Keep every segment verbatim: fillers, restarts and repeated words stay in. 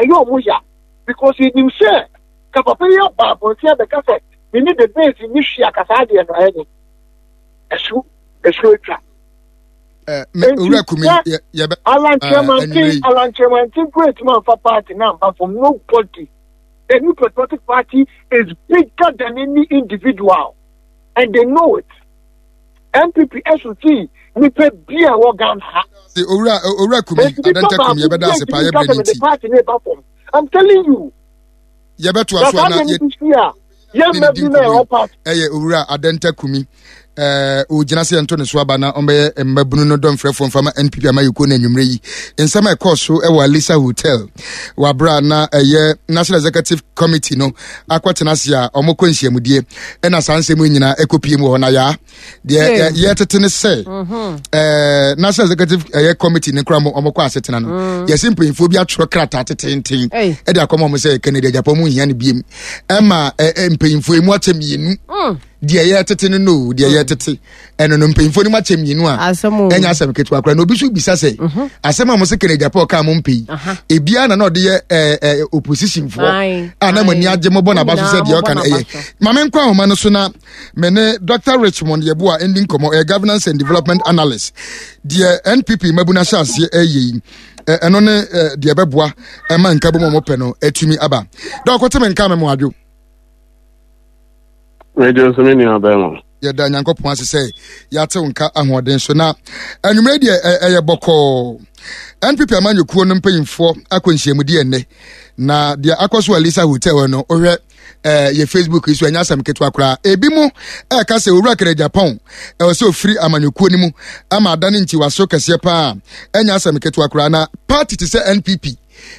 Ɛyɛ ɔmo ya because yɛnim sɛ ka papa yi aba abɔnten abɛka sɛ me ne the base ni hwi akasa adeɛ no, ɛyɛ ne ɛso ɛso atwa. Owura Kumi, yɛbɛ Alan Kyerematen, Alan Kyerematen great man for party now, but from nobody. The New Patriotic Party is bigger than any individual, and they know it. N P P S O T nipa bi a wɔ Ghana ha. Owura owura Kumi Adanta Kumi, yɛbɛda ase paa, yɛbrɛ ne nti. Party ne ba fam. I'm telling you. Yɛbɛto aso ana yɛ yɛ di nkɔmɔ. Ɛyɛ Owura Adanta Kumi, ɛɛ ogyina sɛ yɛnto ne so aba na ɔmbɛyɛ mmabunu no dɔmfrɛfoɔ mfama N P P amayɛkuo no. Anwummerɛ yi, nsɛm a ɛkɔɔ so ɛwɔ Alisa Hotel wabra na ɛyɛ National Executive Committee no akɔtena ase a ɔmokɔ nhyiamudie, ɛna saa nsɛm yi nyinaa ɛkɔpie mu wɔ hɔ. Na yaa deɛ yɛtete ne sɛ ɛɛ National Executive ɛyɛ Committee ne kora mo ɔmokɔ asetena no, yɛsi mpanyinfoɔ bi atwerɛ krataa tetenten ɛde akɔma ɔmo sɛ Kennedy Agyapong mu nhia no biem, ɛma ɛɛ mpanyinfoɔ emu akyɛ mmienu. Deɛ yɛtete no no deɛ yɛtete ɛno no, mpanyinfoɔ no mu akyɛ mmienu a ɛnyɛ asɛm ketewa koraa. Na obi nso bisa sɛ asɛm a mo sɛ Kennedy Agyapong kaa mo mpɛ yi, ebiara na na ɔde yɛ ɛɛ ɛɛ opposition foɔ a na mo ani agye, mo bɔ n'aba so sɛ deɛ ɔka no ɛyɛ. Maame nkɔ ahoma no so na me ne Doctor Richmond Yeboah ndi nkɔmɔ, ɛyɛ governance and development analyst. Deɛ N P P mmabu no ahyɛ aseɛ ɛyɛ yi, ɛno ne deɛ ɛbɛboa ɛma nkabom a wɔpɛ no atumi aba dɛ ɔkɔte me nka me mo adwo. Mɛgye nso, me nua bɛrima. Yɛda Nyankopɔn ase sɛ yɛate wo nka ahoɔden so. Na anwummerɛ deɛ, ɛyɛ bɔkɔɔ. N P P amanyɔkuo no mpanyimfoɔ akɔ nhyiamudi ɛnnɛ, na deɛ akɔ so Alisa Hotel no, wohwɛ ɛɛ yɛ Facebook yi so, ɛnyɛ asɛm ketewa koraa. Ebi mu ɛɛka sɛ Owura Kennedy Agyapong ɛwɔ sɛ ofiri amanyɔkuo no mu ama adane ntiwaso kɛseɛ paa. Ɛnyɛ asɛm ketewa koraa na party te sɛ N P P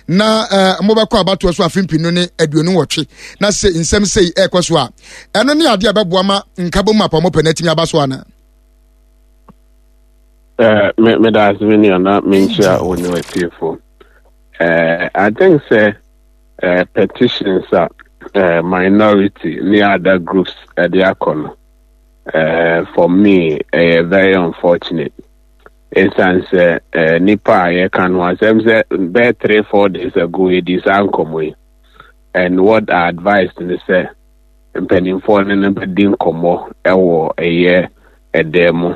na ɛɛ mobɛkɔ abatoɔ so afe mpinu ne aduonu nwɔtwe na sɛ nsɛm sei ɛɛkɔ so a, ɛno ne adeɛ a ɛbɛboa ma nkabom apɔmɔpɛ no atumi aba so ana? Uh, me me da ase, me nua, na menkyia wo ne watiefo. Uh, I think sɛ uh, petitions a uh, minority ne other groups ɛde akɔ no, uh, for me ɛyɛ very unfortunate. Ɛsiane sɛ uh, nipa a yɛka no asɛm sɛ bɛyɛ three four days ago yɛdi saa nkɔmmɔ yi, and what I advised ne sɛ mpanimfoɔ no no bɛdi nkɔmmɔ ɛwɔ ɛyɛ ɛdan mu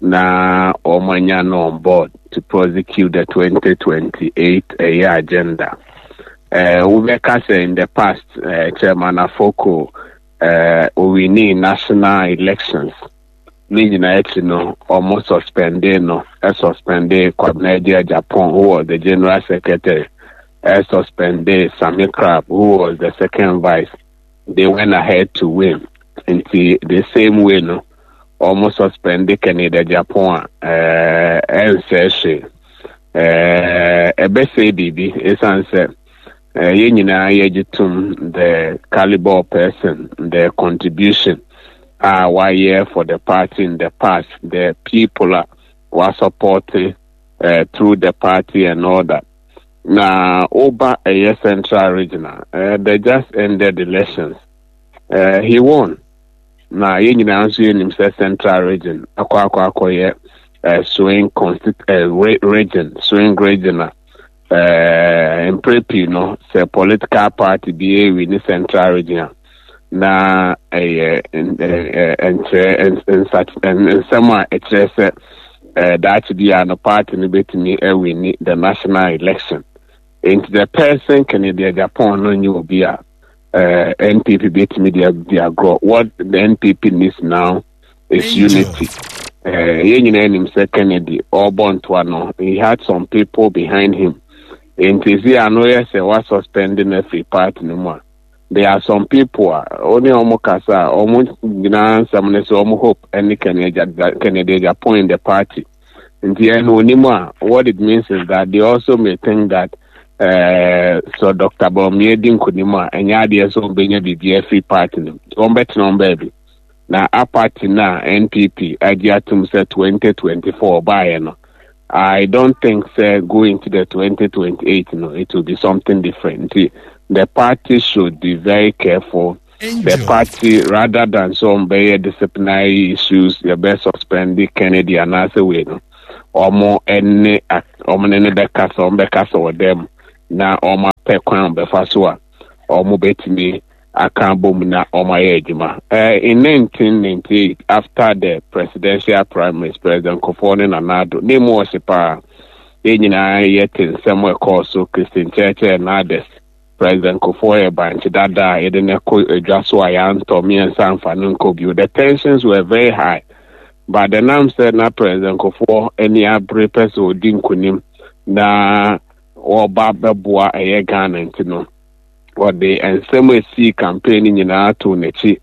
na wɔn anya no on board to prosecute the twenty twenty-eight ɛyɛ agenda. Uh, wobɛka sɛ in the past, uh, Chairman Afoko uh, owini national elections ne nyinaa akyi no, ɔmo suspende no, ɛsuspende Kwabena Agyapong, who was the general secretary, ɛsuspende Sammy Crab, who was the second vice. They went ahead to win. Nti the same way no, ɔmo suspende Kennedy Agyapong a, ɛɛ ɛnsɛ hwee, ɛɛ ɛbɛsɛ biribi, ɛsiane sɛ ɛɛ yɛn nyinaa yɛgye tom the caliber of person, the contribution a wayɛ for the party in the past, the people a wa support uh, through the party and all that. Na oba ɛyɛ Central Regional, uh, they just ended elections, uh, he won. Na yɛn nyinaa nso yɛnim sɛ Central Region akɔ akɔ akɔyɛ uh, swing constit uh, region, swing region a uh, mpere pii no, sɛ political party bi ewi ne Central Region a, na ɛyɛ nkyerɛ nsɛm a ɛkyerɛ sɛ daakye bi a no party no bɛtumi awini the national election. Nti the person Kennedy Agyapong no nye obi a uh, N P P bɛtumi de adi agorɔ. What the N P P needs now is unity. Yɛn nyinaa nim sɛ Kennedy ɔrebɔ ntoa no, he had some people behind him. Nti si ano yɛ sɛ wa suspend no afiri party no mu a, there are some people a ɔne ɔmo kasa a, ɔmo nyinaa nsɛm ne sɛ ɔmo hope ɛne Kennedy Agyapong in the party. Nti ɛno onim a, what it means is that they also may think that uh, so Doctor Bawumia di nkonim a, ɛnyɛ adeɛ sɛ ɔmbɛnya biribi afiri party no, wɔn bɛtena wɔn baabi. Na a party na N P P agye atum sɛ twenty twenty-four ɔbaeɛ no, I don't think sɛ going to the twenty twenty-eight no, it will be something different. Nti the party should be very careful. The party, rather than some bɛyɛ disciplinary issues, yɛbɛ suspend Kennedy anaasɛ wei no, ɔmo ɛne ɔmo ne ne bɛkasa, ɔmo bɛkasa wɔ dɛm na ɔmo Pɛ kwan bɛfa so a ɔmo bɛtumi aka bom na ɔmo ayɛ adwuma. uh, in nineteen ninety-eight, after the presidential primaries, President Kufuor ne Nana Addo ne mu ɔhye paa. Yɛn nyinaa yɛte nsɛm a ɛkɔɔ so, Christian Churchill and others. President Kufuor yɛ bankye dada a yɛde no kɔ adwa so a yɛantɔ mmiɛnsa mfa no nkɔ bio. The tensions were very high, but the nam sɛ na President Kufuor ani abere pɛ sɛ ɔdi nkonim na wɔba bɛboa ɛyɛ Ghana, nti no wɔde nsɛm a esii campaign no nyinaa to n'akyi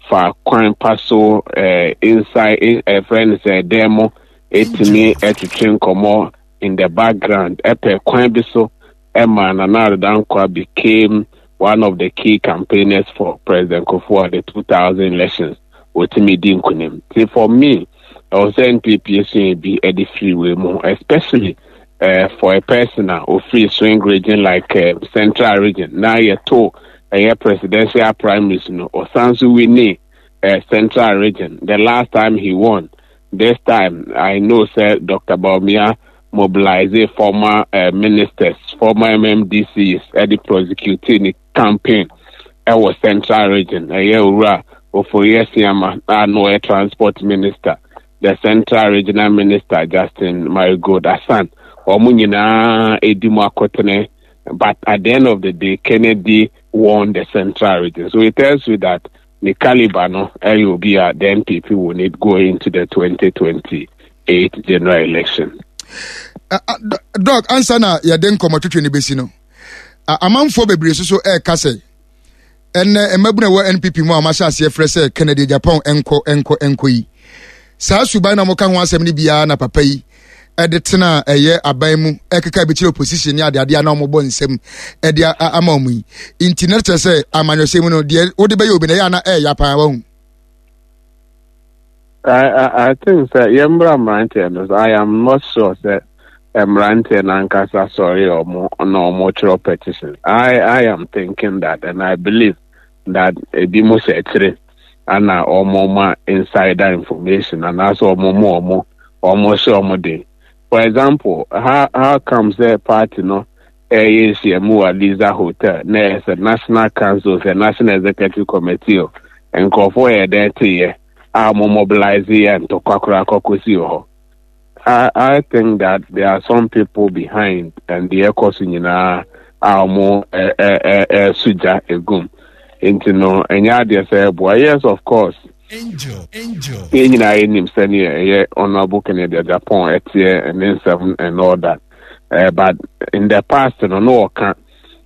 fa kwan pa so, eh, inside, ɛfrɛ no sɛ ɛdan mu, etumi ɛtwitwe nkɔmɔ in the background, ɛpɛ kwan bi so ɛma Nana Addo Dankwa became one of the key campaigners for President Kufuor at the two thousand elections. Wɔtumi di nkonim. Nti for me, ɛwɔ sɛ N P P esua bi ɛde firi wei mu, especially uh, for a person a ofiri swing region like uh, Central Region na yɛto ɛyɛ presidential primaries no, ɔsan so win uh, Central Region the last time he won. This time I know sɛ Doctor Bawumia mobilize former uh, ministers, former M M D Cs, ɛde prosecute ne campaign ɛwɔ Central Region. Ɛyɛ Owura Ofori Asiama a no ɔyɛ transport minister, the Central Regional Minister Justin Marigold Asan, wɔn nyinaa edi mu akotene. But at the end of the day, Kennedy won the Central Region, so it tells you that the caliber no ɛyɛ obi a the N P P will need going into the twenty twenty-eight general election. Uh, uh, Doc, ansa na yɛde nkɔmmɔ twetwe no bɛsi no, uh, amanfoɔ bebree nso so ɛreka sɛ ɛnɛ mmabunu a ɛwɔ N P P mu a wɔahyɛ aseɛ frɛ sɛ Kennedy Agyapong nkɔ, nkɔ, nkɔ yi, saa suban na wɔka ho asɛm no biara na papa yi ɛde tena ɛyɛ aban mu ɛkeka bi kyerɛ opposition ne adeadeɛ na wɔbɔ nsɛm ɛde ama wɔn yi. Nti na kyerɛ sɛ amanyɔsɛm mu no deɛ, wode bɛyɛ obi na ɛyɛ ana ɛyɛ paa wahu. I, I, I think sɛ yɛmmra mmeranteɛ no so, I am not sure sɛ mmeranteɛ n'ankasa sɔre ɔmo na ɔmo twerɛ petition. I, I am thinking that and I believe that ebi mo hyɛ akyire ana ɔmo ma insider information anaasɛ ɔmo mo ɔmo ɔmo hyɛ ɔmo den. For example, how how come sɛ party no ɛyɛ nhyiamu wɔ Liza Hotel na ɛyɛ sɛ National Council, sɛ National Executive Committee o, nkurɔfoɔ yɛ dɛn teyɛ a mo mobilize yɛ ntɔkwa koraa kɔkɔsi wɔ hɔ? I, I think that there are some people behind and the ɛkɔ so nyinaa a wɔn ɛ ɛ ɛ ɛso gya egum. Nti no ɛnyɛ adeɛ sɛ ɛboa. Yes, of course, yɛn nyinaa yɛnim sɛneɛ ɛyɛ Honourable Kennedy Agyapong ɛteɛ ne nsɛm and all that, uh, but in the past no no ɔka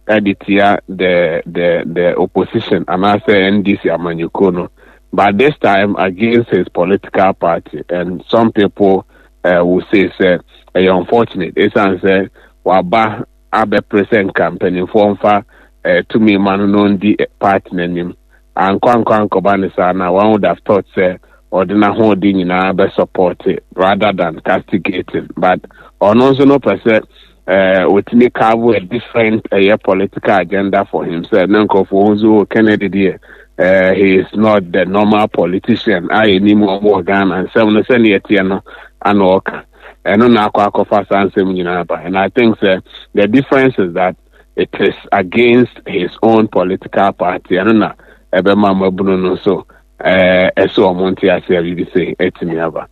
ɛde tia the the the opposition anaasɛ N D C amanyɔkuo no, but this time against his political party, and some people uh, will say sɛ ɛyɛ unfortunate, ɛsiane sɛ waba abɛpere sɛ nka mpanimfoɔ mfa uh, tumi ma no no ndi party n'anim. Ankɔ ankɔ ankɔba ne saa na one would have thought sɛ ɔde n'ahoɔden nyinaa bɛ support rather than castigating, but ɔno nso no pɛ sɛ ɛɛ otumi carve a different ɛyɛ political agenda for himself ne nkurɔfoɔ nso. Kennedy deɛ, ɛɛ he is not the normal politician a yɛnim wɔn wɔ Ghana. Nsɛm no sɛnea ɛteɛ no ana ɔka ɛno na akɔ akɔfa saa nsɛm nyinaa ba, and I think sɛ the difference is that it is against his own political party. Ɛno na ɛbɛma mmabunu no nso ɛɛ ɛsɛ wɔn nte ase a biribi sɛ ɛtumi aba.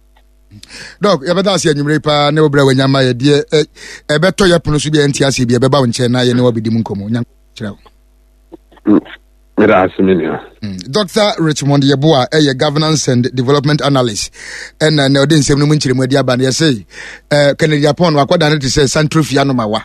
Doc, yɛbɛda ase anwummere paa ne wobrɛ wanya ma yɛdeɛ ɛbɛtɔ yɛ pono so bi a ɛnte aseɛ bi ɛbɛba wo nkyɛn na yɛne wabɛdi mu nkɔmmɔ. Nya kyerɛ wo. Meda ase, me nua. Doctor Richmond Yeboah ɛyɛ governance and development analyst, ɛna na ɔde nsɛm no mu nkyerɛmu adi aba no. Yɛsɛ eh, Kennedy Agyapong no akɔda no te sɛ santrofia no ma wa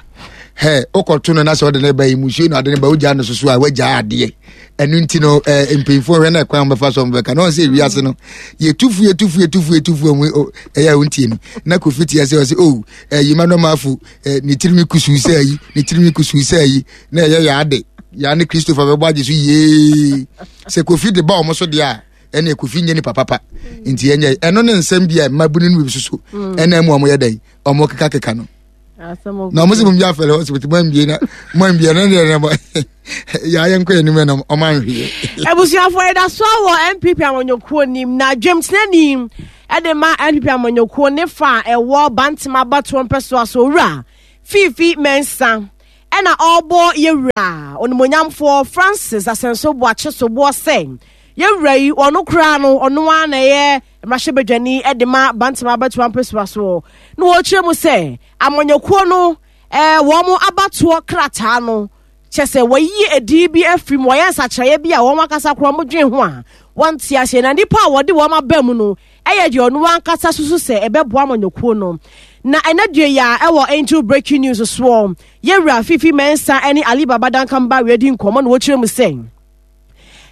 hɛ wokɔto no na sɛ ɔde ne ba yi musuo na ɔde ne ba wogyaa no soso a wagyaa adeɛ. Ɛno nti no eh, mpanyinfoɔ hwɛ na ɛkwan bɛfa so bɛka na ɔn sɛ ewiase no yɛtufu yɛtufu yɛtufu yɛtufu ɔmo ɛyɛ a wontie no na Kofi tia sɛ ɔsɛ o ɛyi ma nɔɔma afo ne tirinwi kusuu sɛ ayi ne tirinwi kusuu sɛ ayi na ɛyɛ yɛ ade yaa ne Christopher bɛbɔ agye so yee sɛ Kofi de ba ɔmo so deɛ a ɛne Kofi nye nipa papa. Nti ɛnyɛ ɛno ne nsɛm bi a mmabunu no bi soso ɛna mu ɔmo yɛ dɛn ɔmo keka keka no na ɔmo sɛ mo bi afɛlɛ hospital mo ambie na mo ambie na deɛ na yɛayɛ nkɔ anim na ɔmo anhweyɛ. Abusuafoɔ, yɛda so wɔ N P P amanyɔkuo nim na dwamtenani ɛde ma N P P amanyɔkuo ne fa a ɛwɔ Bantama abatoɔ mpɛsoa so, Owura Fiifi Mɛnsa, Ɛna ɔrebɔ yɛwura onimonyamfoɔ Francis Asenso Boakye soboɔ sɛ yɛwura yi ɔno koraa no ɔno ara na ɛyɛ mmarahyɛbadwani de ma Bantama abatoɔ mpɛsoa soɔ. Na wɔrekyerɛ mu sɛ amanyɔkuo no ɛɛ wɔn abatoɔ krataa no kyɛ sɛ wɔyi edin bi afiri mu, wɔyɛ nsakyerɛeɛ bi a wɔn ankasa koraa wɔn dwen ho a wɔnte aseɛ, na nnipa a wɔde wɔn aba mu no ɛyɛ deɛ ɔno ankasa susu sɛ ɛbɛboa amanyɔkuo no. Na ɛnɛ dua yi a ɛwɔ Angel Breaking News soɔ, yɛwura Fifi Mensah ne Ali Baba Duncan Barry adi nkɔmmɔ na wɔkyerɛ mu sɛ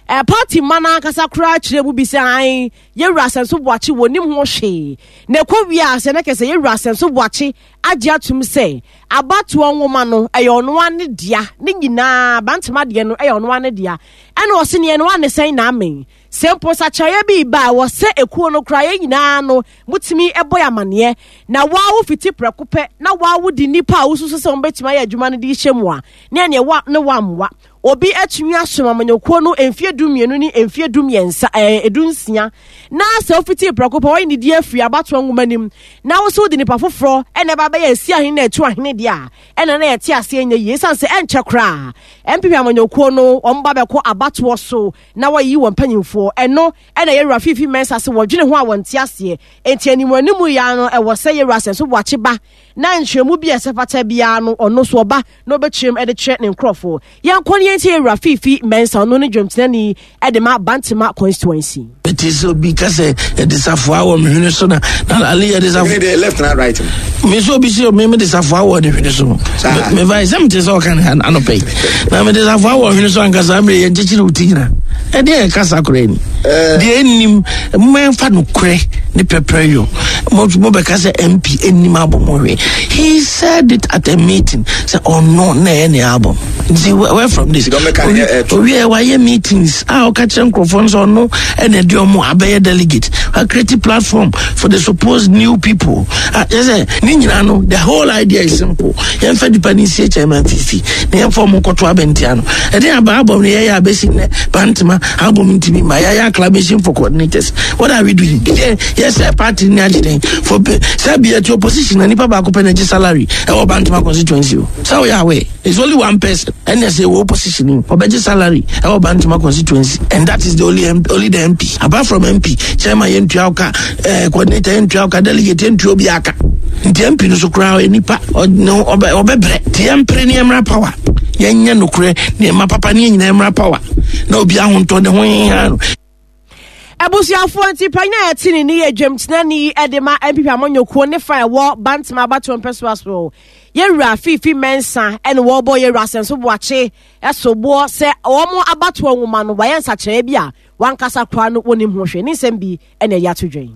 ɛ party mma no ankasa koraa kyerɛ mu bi sɛ an yɛwura Asenso Boakye wɔ nim ho hwee, na ɛkɔ wie a sɛ ne kɛsɛ yɛwura Asenso Boakye agye atum sɛ abatoɔ nwoma no ɛyɛ ɔno ara ne dea, ne nyinaa Bantama deɛ no ɛyɛ ɔno ara ne dea. Ɛna ɔse neɛ no ane sɛn na amen sɛ mpo nsakyerɛeɛ bi ba a wɔ sɛ ekuo no koraa yɛn nyinaa no mutumi ɛbɔ yɛ amaneɛ, na waa wo fiti prɛko pɛ na waa wo di nipa a wosusu sɛ wɔn bɛtumi ayɛ adwuma no de hyɛ mu a ne ɛneɛ wa ne wa mmoa obi atumi asom amanyɔkuo no mfie du mmienu ne mfie du mmiɛnsa ɛɛ edu nsia, na sɛ ofiti prɛko pɛ wɔyɛ ne di afiri abatoɔ nwoma nim na woso de nipa foforɔ ɛna ɛba bɛyɛ esi ahene na ɛtu ahene deɛ a ɛna na yɛte aseɛ nyɛ yie, esan sɛ ɛnkyɛ koraa N P P amanyɔkuo no wɔn ba bɛkɔ abatoɔ so na wɔyi wɔn mpanyinfoɔ. Ɛno ɛna yɛwura Fifi Mensah sɛ wɔdwene ho a wɔnte aseɛ, enti animu animu ya no ɛwɔ sɛ yɛwura Asenso Boakye ba na nkyerɛmu bi a ɛsɛ fata biara no ɔno so ɔba na ɔbɛkyerɛm ɛde kyerɛ ne nkurɔfoɔ. Yɛnkɔ ne yɛntie yɛwura Fifi Mensah, ɔno ne dwamtenani ɛde ma Bantama constituency. Eti sɛ obi ka sɛ yɛde safoa wɔ me hwene so na na ale yɛde safoa. Ɛne deɛ left na right no. Me nso obi sɛ me mede safoa wɔ ne hwene so. Me va sɛ mete sɛ ɔka ne anɔpɛ yi. Na mede safoa wɔ hwene so ankasa mmerɛ yɛn kyekyere wo ti nyina. Ɛdeɛ yɛ kasa koraa ni. Deɛ ɛnnim mmɛmfa no korɛ ne pɛpɛ yɔ. Mo mo bɛka sɛ M P ɛnnim abɔ mo hwɛ. He said it at a meeting sɛ ɔno na ɛyɛ ne album. Nti where from this? Owie wayɛ meetings a ɔka kyerɛ nkurɔfoɔ nso ɔno ɛna ɛde ɔmo abɛyɛ delegate. A create platform for the supposed new people. Ah, yɛ sɛ ne nyinaa no the whole idea is simple. Yɛmfa nipa ne nsie chairman Fifi na yɛmfa ɔmo nkɔto abɛntia no. Ɛde aba album no yɛyɛ abɛsi nnɛ Bantama album ntumi ma yɛayɛ acclamation for coordinators. What are we doing? Yɛ sɛ party ni agye den for sɛ bi ɛti opposition na nipa baako pɛ na ɛgye salary ɛwɔ Bantama constituency o. Sɛ woyɛ aware it's only one person ɛna sɛ ɛwɔ opposition ɔbɛgye salary ɛwɔ Bantama constituency, and that is the only M P, only the M P. Apart from M P, chairman yɛntua ɔka, eh, coordinator yɛntua ɔka, delegate yɛntua obi aka. Nti M P no so koraa nipa ɔbɛbrɛ. Nti yɛmpere ne yɛmmra power, yɛnyɛ nokorɛ nneɛma papa ne yɛn nyinaa mmra power na obi ahontɔ ne ho hia no. Abusuafoɔ nti panyin a yɛte ne ne yɛ dwamtenani de ma N P P amanyɔkuo ne fa ɛwɔ Bantama abatoɔ mpɛsoa so. Yɛwura Fifi Mensah ɛna wɔbɔ yɛwura Asenso Boakye ɛsoboɔ sɛ wɔn abatoɔ nwoma no wɔayɛ nsakyerɛeɛ bi a wankasa koraa no wɔnim ho hwɛ. Ne nsɛm bi ɛna ɛyɛ ato dwan.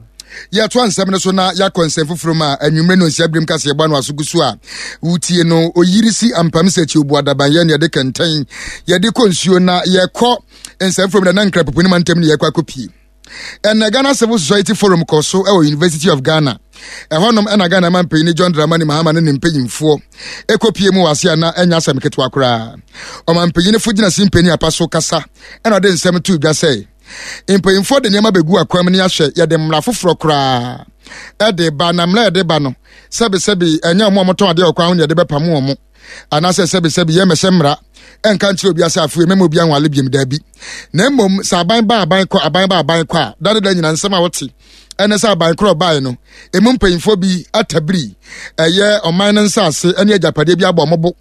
Yɛtoa nsɛm no so na yɛakɔ nsɛm foforɔ mu a anwummerɛ no nsia birim kaseɛ bɔ ano aso gu so a wotie no. Oyiri si ampam sɛ akyi obu adaban yɛ ne yɛde kɛntɛn yɛde kɔ nsuo na yɛkɔ nsɛm foforɔ mu na na nkra pupu ne ma ntɛm ne yɛkɔ akɔpie. Ɛnna Ghana Civil Society Forum kɔ so ɛwɔ University of Ghana. Ɛhɔnom ɛna Ghana ma mpanyin John Dramani Mahama ne ne mpanyinfoɔ ɛkɔpie mu wɔ ase a na ɛnya asɛm ketewa koraa. Ɔmampanyinfo gyina si mpanyin apa so kasa ɛna ɔde nsɛm to dwa sɛ mpanyinfoɔ de nneɛma bɛgu akwam ne ahyɛ yɛde mmara foforɔ koraa ɛde ba, na mmara yɛde ba no sɛbesɛbe ɛnyɛ ɔmo a wɔtɔn adeɛ wɔ kwan ho na yɛde bɛpam wɔn, anaasɛ sɛbesɛbe yɛmmɛhyɛ mmara ɛnka nkyerɛ obi ase afei mɛma obi anwale biam daabi, na mmom sɛ aban ba aban kɔ aban ba aban kɔ a dade da nyina nsɛm a wote ɛne sɛ aban korɔ bae no emu mpanyinfoɔ bi atabiri ɛyɛ ɔman no nsaase ɛne agyapadeɛ bi abɔ ɔmo bo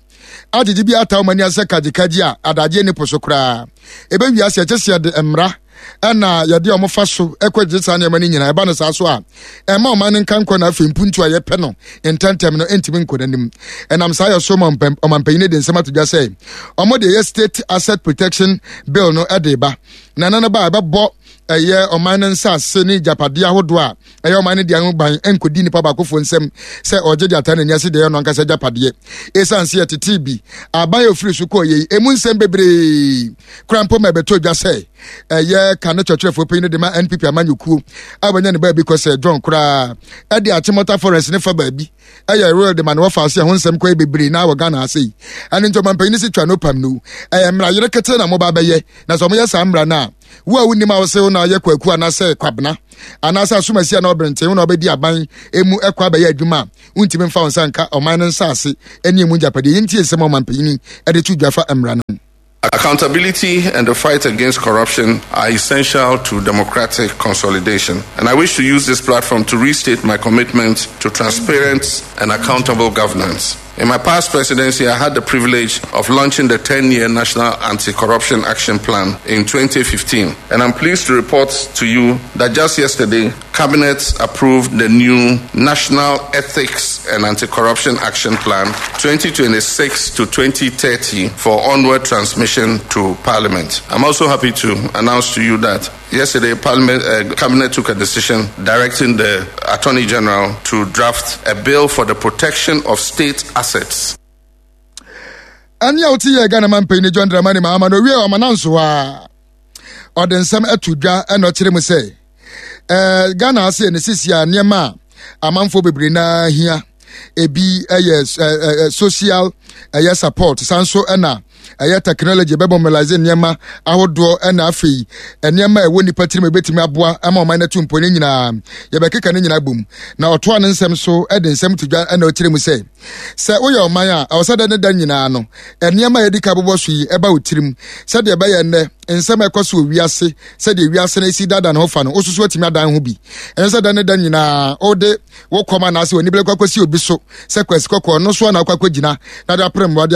agyegye bi ata ɔmo ani asɛ kagyekagye a adagye ne po so koraa ebe wiase ɛkyɛ sɛ yɛde mmara ɛna yɛde ɔmo fa so ɛkɔ gye saa nneɛma no nyinaa. Ɛba no saa so a ɛma ɔman no nka nkɔ na afei mpuntu a yɛpɛ no ntɛntɛm no ntumi nkɔ n'anim. Ɛnam saa yɛ so ma ɔmampanyin de nsɛm ato dwa sɛ ɔmo de ɛyɛ state asset protection bill no ɛde ba na ɛno no ba a ɛbɛbɔ ɛyɛ ɔman no nsaase ne agyapadeɛ ahodoɔ a ɛyɛ ɔman no deɛ ho ban nkɔdi nipa baakofoɔ nsam sɛ ɔgye de ata n'ani ase deɛ ɛyɛ ɔno ankasa agyapadeɛ. Esiane sɛ yɛtetee bi aban a ofiri so kɔɔ yei emu nsɛm bebree kora mpo ma ɛbɛtɔ dwa sɛ Ɛyɛ kane kyerɛkyerɛfoɔ panyin de ma N P P amanyɔkuo a wɔanya ne baabi kɔ sɛ John koraa ɛde Achimota Forest ne fa baabi ɛyɛ royal de ma ne wɔfa ase. Ɛho nsɛm kɔ bebree na wɔ Ghana ase yi. Ɛno nti ɔmampanyin si twa no pam no, ɛyɛ mmara yere kete na moba bɛyɛ. Na sɛ ɔmoyɛ saa mmara no a, wo a wonim a wosɛ wo na ɔyɛ Kwaku anaasɛ Kwabena anaasɛ asomasi a na ɔberenten wo na ɔbɛdi aban emu ɛkɔ abɛyɛ adwuma a, wontumi mfa wo nsa nka ɔman no nsaase ne emu gyapadeɛ. Yɛntie nsɛm a ɔmampanyin ɛde to dwa fa mmara no. Accountability and the fight against corruption are essential to democratic consolidation. And I wish to use this platform to restate my commitment to transparent and accountable governance. In my past presidency, I had the privilege of launching the ten year National Anti Corruption Action Plan in twenty fifteen. And I'm pleased to report to you that just yesterday, Cabinet approved the new National Ethics and Anti Corruption Action Plan twenty twenty-six to twenty thirty for onward transmission to Parliament. I'm also happy to announce to you that yesterday, Parliament, uh, Cabinet took a decision directing the Attorney General to draft a bill for the protection of state assets. Ɛne a wote yɛ Ghana mampanyin John Dramani Mahama na owie ɔma nanso a ɔde nsɛm ato dwa, ɛna ɔkyerɛ mu sɛ ɛɛ Ghana ase ne sisi a nneɛma a amanfoɔ bebree naa hia ebi ɛyɛ ɛɛ social ɛyɛ support, san so ɛna ɛyɛ technology bɛbɔ mobilize nneɛma ahodoɔ, ɛna afei nneɛma a ɛwɔ nipa tirim ebɛtumi aboa ama ɔman no atu mpɔ ne nyinaa yɛbɛkeka ne nyinaa bom. Na ɔtoa ne nsɛm so, ɛde nsɛm to dwa, ɛna ɔkyerɛ mu sɛ sɛ woyɛ ɔman a, ɛwɔ sɛ dɛ ne da nyinaa no nneɛma a yɛdi ka bobɔ so yi ɛba wo tirim, sɛdeɛ ɛbɛyɛ nnɛ nsɛm a ɛkɔ so wɔ wiase, sɛdeɛ wiase no esi dada ne ho fa no, wososo atumi adan ho bi. Ɛnyɛ sɛ da ne da nyinaa wode wo kɔm anaasɛ w'ani bɛkɔ akɔsi obi so sɛ Kwasi Kɔkɔɔ no so ana akɔ akɔgyina na de apere mmoa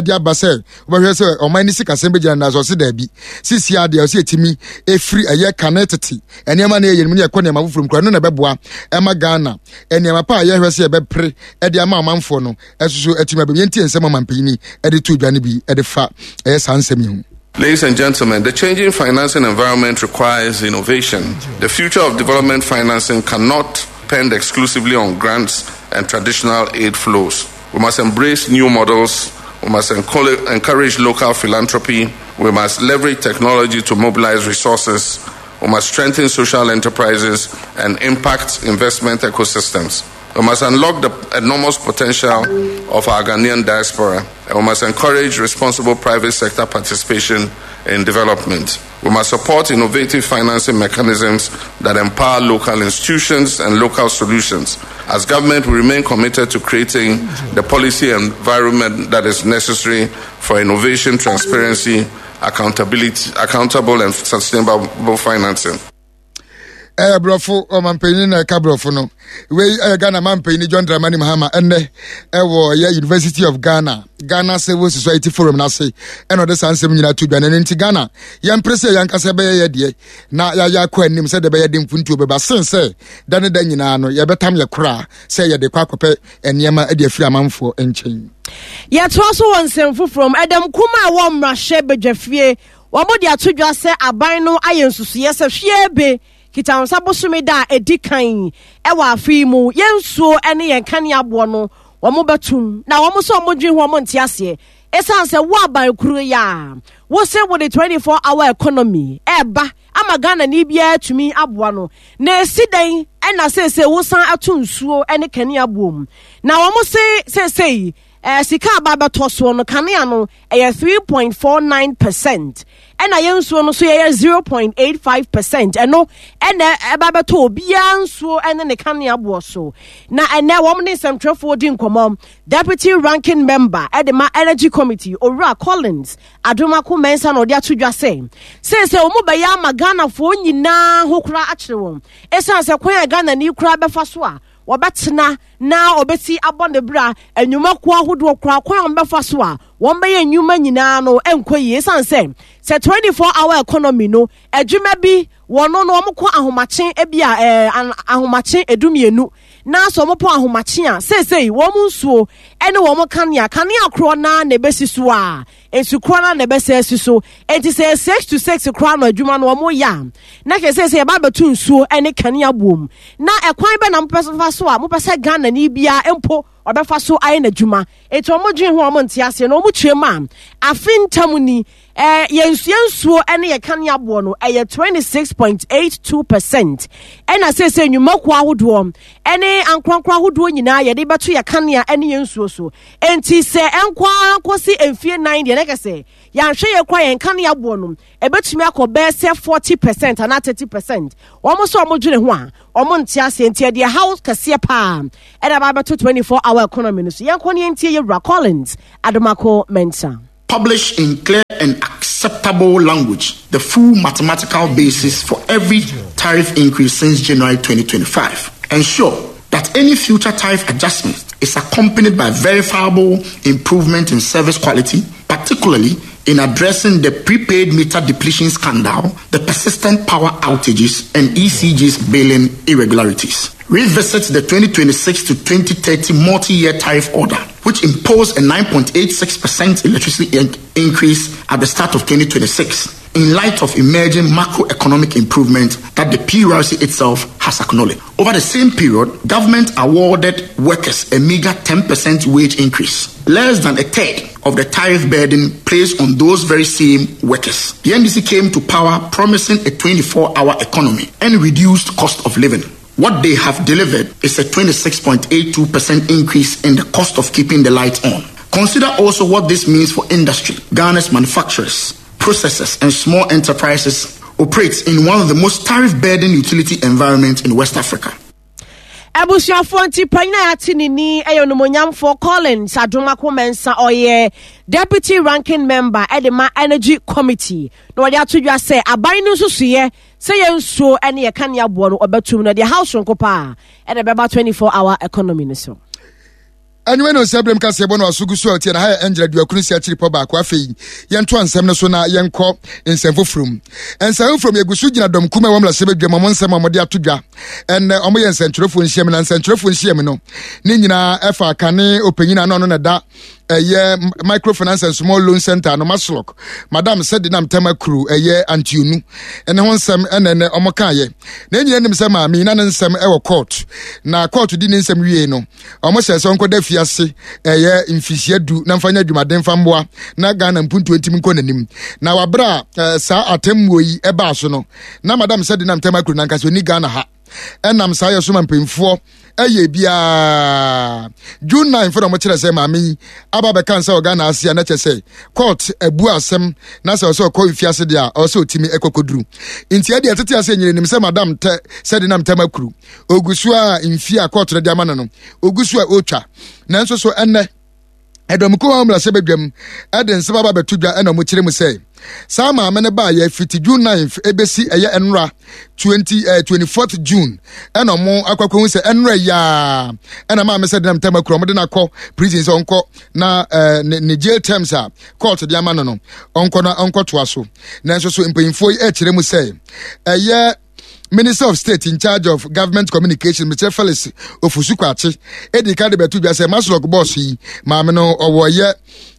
de aba sɛ wobɛhwɛ sɛ ɔman ne sikasɛm bɛgyina. Na sɛ ɔse daabi, sisi adeɛ ɔsɛ ɛtumi ɛfiri ɛyɛ kane tete nneɛma no ɛyɛ no mu ne ɛkɔ nneɛma foforɔ mu kora no na ɛbɛboa ɛma Ghana nneɛma pa a yɛhwɛ sɛ yɛbɛpere ɛde ama ɔmanfoɔ no ɛsoso atumi abɛm. Yɛntie nsɛm ɔmampanyini ɛde to dwa no bi ɛde fa ɛyɛ saa nsɛm yi ho. Ladies and gentlemen, the changing financing environment requires innovation. The future of development financing cannot depend exclusively on grants and traditional aid flows. We must embrace new models. We must encourage local philanthropy. We must leverage technology to mobilize resources. We must strengthen social enterprises and impact investment ecosystems. We must unlock the enormous potential of our Ghanaian diaspora, and we must encourage responsible private sector participation in development. We must support innovative financing mechanisms that empower local institutions and local solutions. As government, we remain committed to creating the policy environment that is necessary for innovation, transparency, accountability, accountable and sustainable financing. Ɛyɛ borɔfo ɔmampanyin na ɛka borɔfo no. Wei ɛyɛ Ghana mampanyin John Dramani Mahama. Ɛnnɛ ɛwɔ ɛyɛ University of Ghana, Ghana Civil Society Forum n'ase, ɛna ɔde saa nsɛm nyinaa to dwa. N'ano nti Ghana yɛmpere sɛ yɛnkasa bɛyɛ yɛ deɛ na yɛayɛ akɔ anim sɛdeɛ ɛbɛyɛ de mpuntuo bɛba, sen sɛ da ne da nyinaa no yɛbɛtam yɛ koraa sɛ yɛde kɔ akɔpɛ nneɛma de afiri amanfoɔ nkyɛn. Yɛtoa so wɔ nsɛm foforɔ mu. Ɛdɛm kum a ɛwɔ mmarahyɛ badwafie, wɔn de ato dwa sɛ aban no ayɛ nsusuiɛ sɛ hwie be Kitansa bosome da a ɛdi kan ɛwɔ afe yi mu, yɛn nsuo ne yɛn kanea aboɔ no wɔn bɛtum. Na wɔn nso wɔn dwen ho, wɔn nte aseɛ, ɛsiane sɛ wo aban kuro yi a wosɛ wode twenty-four hour economy ɛɛba ama Ghana ni biara tumi aboa no, na esi dan ɛna seesei wosan ato nsuo ne kanea boɔ mu. Na wɔn se seesei ɛɛ sika aba abɛtɔ soɔ no, kanea no ɛyɛ three point four nine percent, ɛna yɛn nsuo no nso yɛyɛ zero point eight five percent. Ɛno ɛna ɛba bɛtɔ obiara nsuo ɛne ne kanea boɔ so. Na ɛnɛ wɔn ne nsɛmtwerɛfoɔ di nkɔmɔ, deputy ranking member ɛde ma Energy Committee, Owura Collins Adomako Mensah, na ɔde ato dwa sɛ seesei wɔn bɛyɛ ama Ghanafoɔ nyinaa ho koraa akyerɛ wɔn, ɛsiane sɛ kwan a Ghana ni koraa bɛfa so a wɔbɛtena na wɔbɛsi abɔ ne bra, nnwumakuo ahodoɔ koraa kwan a wɔbɛfa so a wɔn bɛyɛ nnwuma nyinaa no nkɔ yie, ɛsiane sɛ sɛ twenty-four hour economy no adwuma bi wɔn no wɔn kɔ ahomakye ebi a ɛɛ ahomakye edumienu na sɛ wɔn pɔ ahomakye a, seesei wɔn nsuo ɛne wɔn kanea kanea korɔ naa na ebesi so a Nsu koro na na ɛbɛsɛ asi so. Enti sɛ six to six kora no adwuma no ɔmo yɛ a, na kyerɛ sɛ sɛ yɛba abɛto nsuo ne kanea boom. Na ɛkwan bɛ na mopɛ fa so a mopɛ sɛ Ghana ni biara mpo ɔbɛfa so ayɛ n'adwuma. Enti ɔmo dwen ho a ɔmo nte aseɛ na ɔmo kyerɛ mu a, afe ntam ni, eh, yɛn nsuo ne yɛ kanea boɔ no ɛyɛ twenty six point eight two percent. Ɛna seesei nnwumakuo ahodoɔ ɛne ankorankoro ahodoɔ nyinaa yɛde bɛto yɛ kanea ne yɛn nsuo so. Enti sɛ ɛnkɔ akɔsi mfie nan deɛ, na kyerɛ sɛ yɛanhwɛ yɛ kora yɛn kanea boɔ no ɛbɛtumi akɔ bɛyɛ sɛ forty percent anaa thirty percent. Wɔn nso a wɔdwene ho a wɔn nte aseɛ, nti ɛdeɛ haw kɛseɛ paa ɛna aba abɛto twenty four hour economy no so. Yɛn kɔ ne yɛn tie yɛwura Collins Adomako Mensah. Publish in clear and acceptable language the full mathematical basis for every tariff increase since January twenty twenty-five. Ensure that any future tariff adjustment is accompanied by verifiable improvement in service quality, particularly in addressing the prepaid meter depletion scandal, the persistent power outages, and E C G's billing irregularities. Revisit the twenty twenty-six to twenty thirty multi-year tariff order, which imposed a nine point eight six percent electricity in-, increase at the start of twenty twenty-six, in light of emerging macroeconomic improvement that the P R C itself has acknowledged. Over the same period, government awarded workers a meager ten percent wage increase, less than a third of the tariff burden placed on those very same workers. The N D C came to power promising a twenty-four hour economy and reduced cost of living. What they have delivered is a twenty-six point eight two percent increase in the cost of keeping the lights on. Consider also what this means for industry. Ghana's manufacturers, processors, and small enterprises operates in one of the most tariff-burdened utility environments in West Africa. Abusuafo nti panyin a yɛate ne ni ɛyɛ onimonyamfo Collins Adomako Mensah, ɔyɛ deputy ranking member ɛde ma Energy Committee. Na wɔde ato dwa sɛ aban no nso soyɛ sɛ yɛn nsuo ne yɛ kanea boɔ no ɔbɛtum no deɛ house nko paa ɛna ɛbɛba twenty-four hour economy no so. Anyway, no sɛ brem ka sɛ bɔ no asogu so ɔtie na ha yɛ Angela Duakunu si akyiri pɔ baako. Afei yɛnto ansɛm no so na yɛnkɔ nsɛm foforɔ mu. Nsɛm foforɔ mu yɛgu so gyina dɔm kuma wɔn lasɛ badwa mu, ɔmo nsɛm a wɔde ato dwa. Ɛnnɛ ɔmo yɛ nsɛntwerɛfoɔ nhyiam, na nsɛntwerɛfoɔ nhyiam no ne nyinaa ɛfa kane ɔpanyin ano ɔno na da ɛyɛ microfinance and small loan center no Maslok, Madam Sedinam Tamakru ɛyɛ Antionu ɛne ho nsɛm ɛna ɛnɛ ɔmo kaayɛ. Na nyinaa nim sɛ maame na ne nsɛm ɛwɔ court, na court di ne nsɛm wie no ɔmo hyɛ sɛ ɔnkɔda fiase ɛyɛ mfisia du na mfa nyɛ adwumaden mfa mmoa na Ghana mpuntuo ntimi nkɔ n'anim. Na wabra, eh, saa atemmuo yi ɛbaa so no, na Madam Sedinam Tamakru nankasa onni Ghana ha. Ɛnam saa yɛ so ma mpanyinfoɔ ɛyɛ biara. June ninth na ɔmo kyerɛ sɛ maame yi aba bɛka nsa wɔ Ghana ase a na kyerɛ sɛ court abu asɛm na sɛ ɔsɛ ɔkɔ mfiase deɛ a ɔsɛ ɔtumi ɛkɔkɔduru. Nti ɛdeɛ ɛtete ase nyere nim sɛ Madam tɛ Sedinam Tamakru ogu so a mfie a court no de ama no no ogu so a ɔretwa. Nanso so ɛnnɛ ɛdɔm kuo a wɔn mmarahyɛ badwam ɛde nsɛm aba abɛto dwa ɛna wɔn kyerɛ mu sɛ saa maame no baayɛ fiti June ninth ebesi ɛyɛ ɛnora twenty, eh, twenty-fourth June ɛna wɔn akɔ akɔhu sɛ ɛnora yaa ɛna maame Sedinam Tamakru wɔn de no akɔ prison sɛ ɔnkɔ na, eh, ne, ne jail terms a court de ama no no ɔnkɔ na ɔnkɔtoa so. Nanso so mpanyinfoɔ yi ɛkyerɛ mu sɛ ɛyɛ Minister of State in charge of Government Communication, Mister Felix Ofosu Kwakye, edi ka de bɛto dwa sɛ Maslok boss yi maame no ɔwɔ yɛ,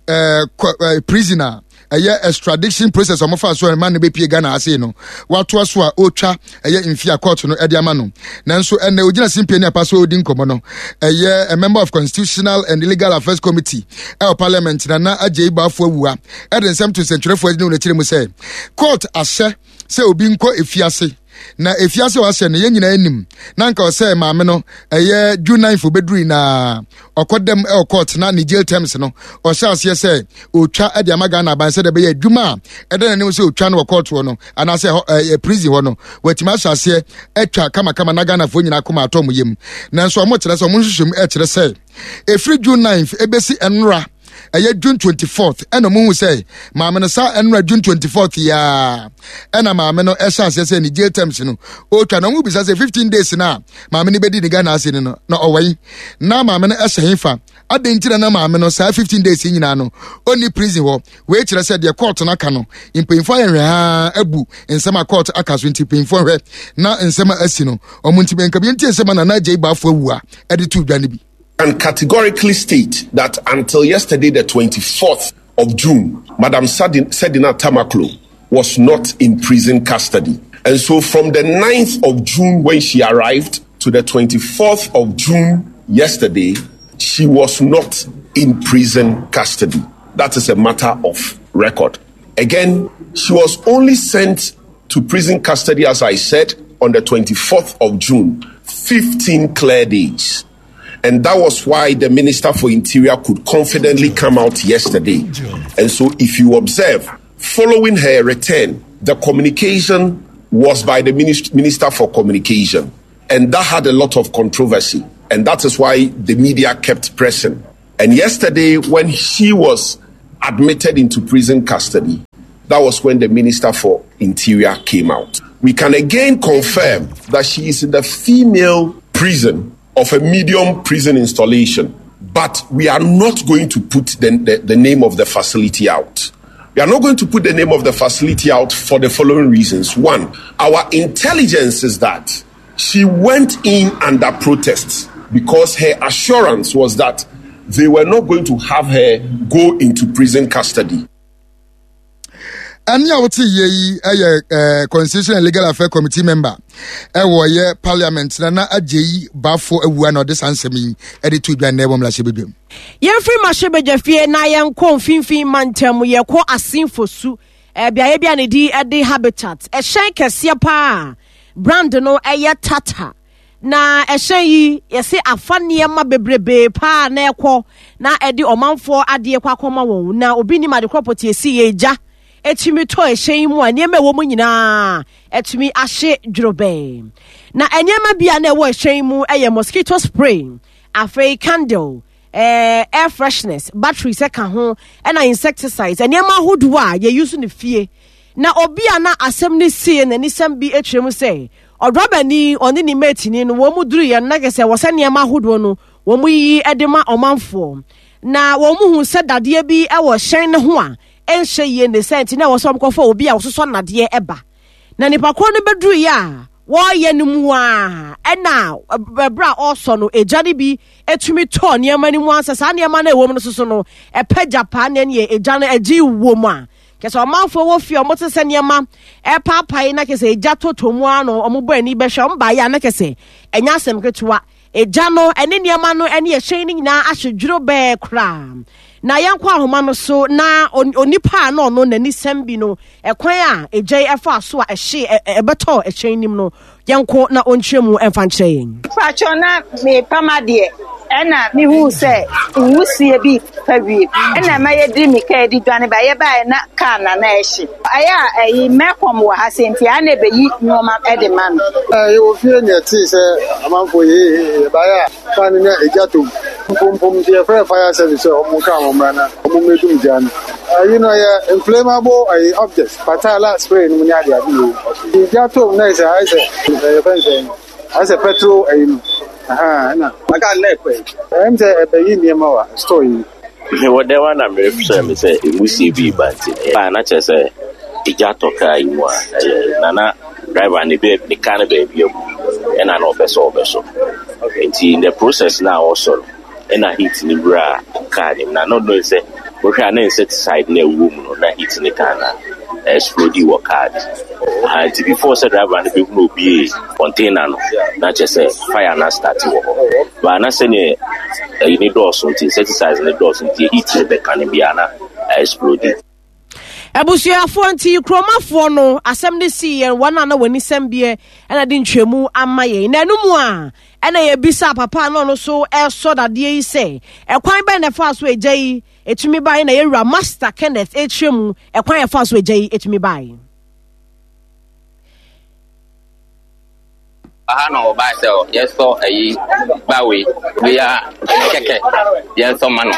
eh, kɔ, eh, prisoner ɛyɛ extradition process ɔmo fa so ɛma no bepie Ghana ase no watoa so a otwa ɛyɛ mfi a court no ɛde ama no. Nanso ɛnɛ ogyina simpie ne apa so odi nkɔmɔ no ɛyɛ a member of Constitutional and Legal Affairs Committee ɛwɔ Parliament na na Agyei Bafo Awua ɛde nsɛm to nsɛntwerɛfoɔ anim n'akyiri mu sɛ court ahyɛ sɛ obi nkɔ efiase na efiase a wahyɛ no yɛn nyinaa anim na nka ɔsɛ maame no ɛyɛ June ninth obeduru na ɔkɔdam ɛwɔ court na ne jail terms no ɔhyɛ aseɛ sɛ otwa ɛde ama Ghana aban sɛ de bɛyɛ adwuma a ɛda n'anim sɛ otwa no wɔ court hɔ no anaasɛ ɛhɔ, ɛyɛ prison hɔ no watumi ahyɛ aseɛ atwa kamakama na Ghanafoɔ nyinaa kɔma atɔ ɔmo yam. Nanso ɔmo kyerɛ sɛ ɔmo nhwehwɛ mu ɛkyerɛ sɛ efiri June ninth ebesi ɛnora ɛyɛ June twenty-fourth ɛna ɔmo hu sɛ maame no saa ɛnora June twenty-fourth yaa ɛna maame no ɛhyɛ aseɛ sɛ ne jail terms no otwa na ɔmo bisa sɛ fifteen days na maame no bɛdi ne Ghana ase no no na ɔwɔ yi na maame no ɛhyɛ hefa adɛn nti na na maame no saa fifteen days yi nyinaa no ɔnni prison hɔ. Wei kyerɛ sɛ deɛ court no aka no mpanyinfoɔ ayɛ hwɛ ha abu nsɛm a court aka so nti mpanyinfoɔ hwɛ na nsɛm a asi no ɔmo nti nka bi nti nsɛm a Nana Agyei Bafo awu a ɛde to dwa no bi. And categorically state that until yesterday, the twenty-fourth of June, Madam Sedina Tamakloe was not in prison custody. And so from the ninth of June when she arrived to the twenty-fourth of June yesterday, she was not in prison custody. That is a matter of record. Again, she was only sent to prison custody, as I said, on the twenty-fourth of June, fifteen clear days. And that was why the Minister for Interior could confidently come out yesterday. And so if you observe, following her return, the communication was by the Minister for Communication. And that had a lot of controversy. And that is why the media kept pressing. And yesterday, when she was admitted into prison custody, that was when the Minister for Interior came out. We can again confirm that she is in the female prison of a medium prison installation, but we are not going to put the, the, the name of the facility out. We are not going to put the name of the facility out for the following reasons. One, our intelligence is that she went in under protest because her assurance was that they were not going to have her go into prison custody. Ani a wote ye yi eh Constitution and Legal Affairs Committee member eh wo ye parliament na na agye bafo awua na ode sansem yi e de to dwa na e bomla hyebedwam. Ye free ma hyebedwa fie na ye nko mfimfin mantam ye ko asinfosu e bia bia ne di e de habitat e hyen kese pa brand no e ye Tata na ehyen yi ye se afa nneema bebrebe pa na ekɔ na e de omanfo ade kwa akoma won na obi ni ma de kropoti esi ye gya etumi to ehyen mu a nneema ewo mu nyina etumi ahye dworobe na nneema bia na ewo ehyen mu eye mosquito spray, afei candle, eh air freshness, batteries e ka ho na insecticides nneema ahodo a ye use ne fie na obi a na asem ne sie na nisem bi etwem sɛ ɔdrɔbani ɔne ne mate ni no wo mu duru ye na kese wo sɛ nneema ahodo no wo mu yi edema ɔmanfo na wo mu hu sɛ dadeɛ bi ewo hyɛn ne ho a enhye ye ne senti na wo so mkofo obi a wo soso nade eba na nipa ko no beduru ye a wo ye no mu a ena ebra oso no egya ne bi etumi to nneema ni mu ansa sa nneema na ewo mu no soso no epagya pa na ne egya no egi wo mu a kese omanfo wo fie omo te se nneema e paapai na kese egya totomu ano omo bo ani behwe omba ya na kese enya asem ketewa egya no ene nneema no ene ehyen ni nyina ahwedwuro be kra na yankwa ahoma no so na onipa na ono nani sembi no ekwan a egya efa so a ehye ebeto ehyen nim no yanko na onkyerɛ emfa nkyerɛ yen pacho na me pama de ena me hu se nwusie bi fa wie ena ma ye di mi ka di dwane ba ye ba na ka na na ehye aya eyi mekom wo ha senti a na be yi noma e de ma no eh wo fie ne ti se amanfo ye ba ya fa ne egya to pom pom ti fire service o mo ka mo mra na o mo medum gya no you know yeah inflammable objects patala spray no nya dia bi o gya to na se ai se eh fence ai se petrol eh no aha na maka na ekwe em se e be yi niema wa store yi me wo de wa na me se me se emusi bi banti ba na che se gya to ka yi mu a na na driver ne be ne ka ne be bi e na na obeso obeso nti in the process now also na heat ni bra car ni na no no say we hwa na insecticide na ewu mu no na heat ni car na explode wo car and before say driver na be hu obi container no na che say fire na start wo ho ba na say ne ni doors nti insecticide ni doors nti heat ni be kan bia na explode. Abusuafo nti kromafo no asem ne si yen wana na wani sem bie na de ntwemu ama ye na enumu a na ye bisa papa no no so eso dade yi se ekwan ben na fa so egya yi etumi bai na ye wura Master Kenneth etwemu ekwan e fa so egya yi etumi bai aha no ba se yes so eyi bawe we are keke yes so man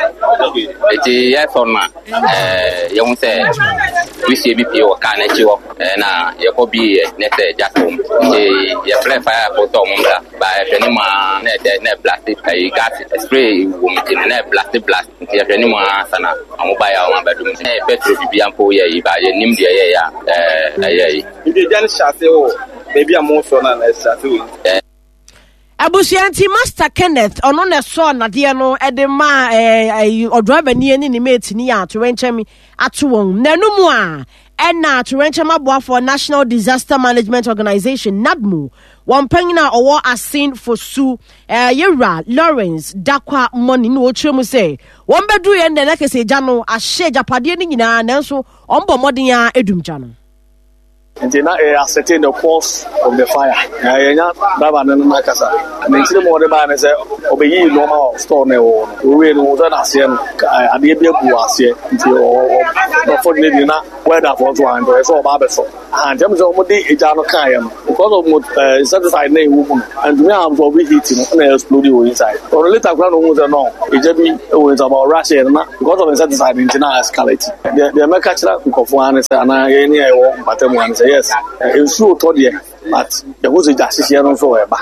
eti yes so na eh ye hu se we see B P o ka na chi wo na ye ko bi ne se jatom e ye play fire for to mo ba e ni ma na de na blast e gas spray wo mi na blast blast ti e ni ma sana amu ba ya o ma badum e petrol bi ampo ye yi ba ye nim de ye ya eh ye yi ndi jan chase o baby am so na na chase. Abusua nti Master Kenneth ɔno na ɛsɔɔ nadeɛ no ɛde ma ɛɛ ɔdriver ni ne ne mate ni a atorenkyɛm ato wɔn. Na ɛno mu a ɛna atorenkyɛm aboafoɔ National Disaster Management Organization NADMO wɔn panyin a ɔwɔ Asen Fosu ɛɛ yɛwura Lawrence Dakwa Money na wɔkyerɛ mu sɛ wɔn bɛduru yɛn dɛ na kɛse gya no ahyɛ agyapadeɛ no nyinaa, nanso wɔn bɔ mmɔden a edum gya no. Nti na ɛyɛ ascertain the cause of the fire. Na yɛnya driver no no n'akasa ne nkyerɛ mu a ɔde baa ne sɛ ɔbɛyii nneɛma wɔ store no ɛwɔ hɔ no, owie no wɔn sɛ n'aseɛ no adeɛ bi agu wɔ aseɛ, nti unfortunately na welder foɔ nso wɔ nti ɔyɛ sɛ ɔba abɛsɔ aha. Nti ɛmu sɛ wɔde egya no kaeɛ no, because of uh, insecticide na ɛwɔ mu no, ntumi absorb heat no na explode wɔ inside. Ɔno later koraa na ohun sɛ no egya bi wɔ inside, but ɔrush yɛ no na because of insecticide nti na escalate. Deɛ deɛ mɛka kyerɛ nkɔfoɔ ha ne sɛ anaa yɛn ne a yɛwɔ mpata mu ha ne sɛ yes, nsuo tɔ deɛ, but yɛho sɛ gya hyehyeɛ no nso ɛba.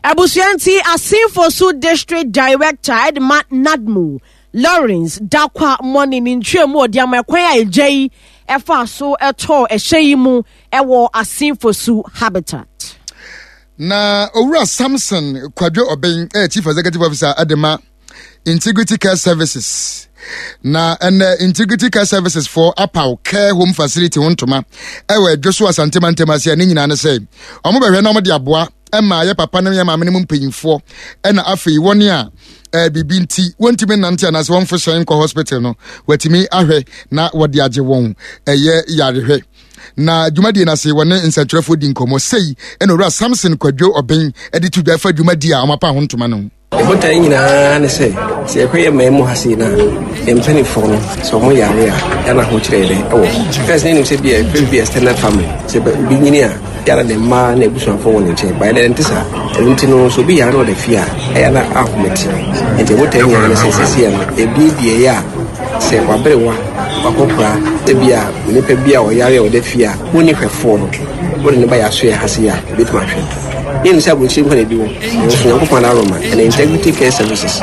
Abusua nti Assin Fosu District Director ɛde NADMO Lawrence Dakwa Money ne ntwea mu ɔde ama ɛkwan a egya yi ɛfa so ɛtɔɔ ɛhyɛ yi mu ɛwɔ Assin Fosu Habitat. Na Owura Samson Kwadwo Ɔbɛn ɛyɛ Chief Executive Officer ɛde ma Integrity Care Services, na ɛnɛ Integrity Care Services for apaw care home facility ho ntoma ɛwɔ Adwo so Asantema ntɛm ase a ne nyinaa ne sɛ ɔmo bɛhwɛ na ɔmo de aboa ɛma yɛ papa ne yɛ maame ne mu mpanyinfoɔ, ɛna afei wɔn a ɛɛ biribi nti wɔntumi nante anaasɛ wɔmfo hyɛn nkɔ hospital no, wɔatumi ahwɛ na wɔde agye wɔn ɛyɛ yarehwɛ. Na dwumadie no ase, wɔne nsɛntwerɛfoɔ di nkɔmmɔ sei, ɛna Owura Samson Kwadwo Ɔbɛn ɛde to dwa ɛfa dwumadie a ɔmapa ho ntoma no. Ɛbotae nyinaa ne sɛ sɛ yɛkɔyɛ mmaa mu ha sei no a, yɛn mpanimfoɔ no sɛ ɔmo yare a, yɛana ho kyerɛ dɛ ɛwɔ first ne nim sɛ bia ɛfrɛ bi extended family, sɛ obi nyini a yɛana ne mmaa na abusuafoɔ wɔ ne nkyɛn baɛ dɛ nte saa. Ɛno nti no, sɛ obi yare na ɔda fie a, ɛyɛ na ahomete. Nti ɛbotae nyinaa ne sɛ sesia no ɛbiebie yɛ a sɛ waberewa wakɔkora sɛ bi a onipa bi a ɔyare a ɔda fie a wonni hwɛfoɔ no, wode ne ba yɛ aso yɛ ha sei a, ɛbɛtumi ahwɛ. Yɛnim sɛ aburokyire nkwa na ebi wɔ, nanso Nyankopɔn aroma ɛna Integrity Care Services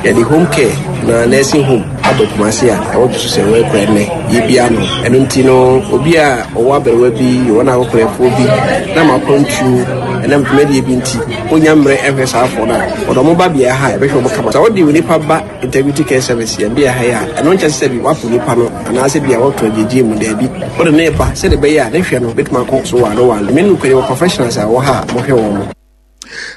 yɛde home care na nursing home aba Kumase a ɛwɔ dwo so sɛ wɔakura nnɛ yɛbia no. Ɛno nti no, obi a ɔwɔ aberewa bi, wɔn a akɔkorɛfoɔ bi na ma akwantuo ɛnam dwumadie bi nti wonya mmerɛ ɛhwɛ saa afɔ no a, wɔde ɔmo ba bea ha a ɛbɛhwɛ ɔmo kama. Sɛ wode onipa ba Integrity Care Service yɛn bea ha yi a, ɛno nkyɛ sɛ bi wapo nipa no anaasɛ bi a wɔto agyegye mu. Daabi, wode ne ba sɛde ɛbɛyɛ a ne hwɛ no bɛtumi akɔ so wɔ ano wɔ ano. Me no kwani wɔ professionals a wɔ ha a mohwɛ wɔn mo.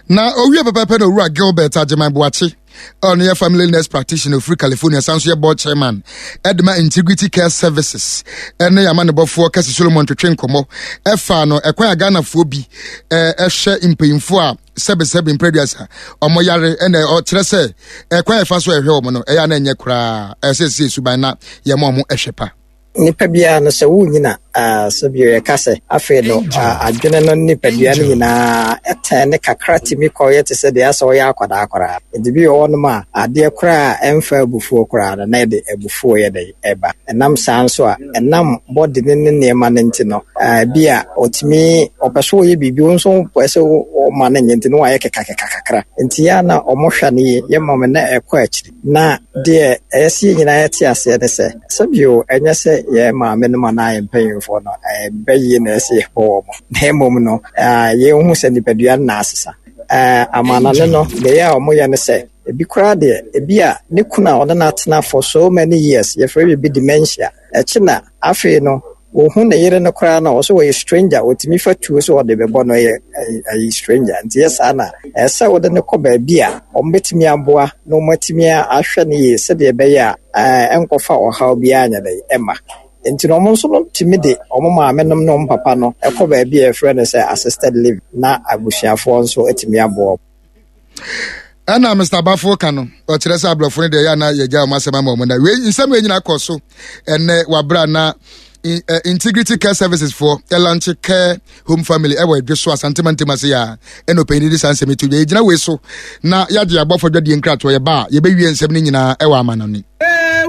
Na owie pɛpɛpɛ na Owura Gilbert Agyeman Boakye, ɔno yɛ family nurse practitioner ofiri California, san so yɛ board chairman ɛde ma Integrity Care Services, ɛne amanebɔfoɔ Kɛse Solomon twetwe nkɔmmɔ ɛfa no ɛkwan a Ghanafoɔ bi ɛhwɛ mpanyinfoɔ a sɛbesɛbe mprɛduasa ɔmo yare, ɛna ɔkyerɛ sɛ ɛkwan a ɛfa so ɛhwɛ wɔn no ɛyɛ ana ɛnyɛ koraa, ɛsɛ sɛ suban na yɛma ɔmo ɛhwɛ pa. Nipa biara no, sɛ wonyina, sɛbio yɛka sɛ afei no adwene no nipadua no nyinaa ɛtɛn ne kakra tumi kɔyɛ te sɛ deɛ asɛ ɔyɛ akwadaa koraa. Nti bi wɔ hɔnom a adeɛ koraa a ɛmfa abufuo koraa no na ɛde abufuo yɛ dɛ ɛba. Ɛnam saa nso a ɛnam bɔde ne ne nneɛma no nti no, bi a ɔtumi ɔpɛ so ɔyɛ biribi, wo nso pɛ sɛ ɔma no nyɛ, nti no wayɛ kekakeka kakra. Nti yɛ a na ɔmo hwɛ no yie, yɛ ma na ɛkɔ akyiri. Na deɛ ɛyɛ sɛ yɛn nyinaa yɛte aseɛ ne sɛ, sɛbio ɛnyɛ sɛ yɛn maame no anaa yɛn mpanyinfoɔ no bɛyie na ɛsɛ yɛbɔ wɔn, na mmom no yɛnhu sɛ nipadua no na asesa. Amanane no deɛ a wɔyɛ no sɛ ebi koraa deɛ, ebi a ne kunu a ɔne no atena for so many years, yɛfrɛ biribi dementia, ɛkyi na afei no wohu ne yere no koraa na ɔsɛ wɔyɛ stranger, wɔtumi fa tuo so ɔde bɛbɔ no, yɛ ɛyɛ stranger. Nti yɛ saa na ɛsɛ wɔde no kɔ baabi a wɔn bɛtumi aboa na wɔn atumi ahwɛ no yie sɛdeɛ ɛbɛyɛ a ɛnkɔfa ɔhaw biara nyɛ dɛ ɛma. Nti no, wɔn nso no tumi de wɔn maame nom ne wɔn papa no ɛkɔ baabi a yɛfrɛ no sɛ assisted living, na abusuafoɔ nso atumi aboa. Ɛna Mister Bafo ka no, ɔkyerɛ sɛ aborɔfo no deɛ ɛyɛ ana yɛgya wɔn asɛm ama wɔn. Na wei nsɛm wei nyinaa kɔ so ɛnɛ wabra na Integrity Care Services foɔ ɛlaunch care home family ɛwɔ Adwe so Asantema ntɛm ase a ɛna ɔpanyin de saa nsɛm yi to dwa. Yɛgyina wei so na yɛagye abɔfo adwadie nkratoɔ, yɛba a yɛbɛwie nsɛm no nyinaa ɛwɔ amanɔne.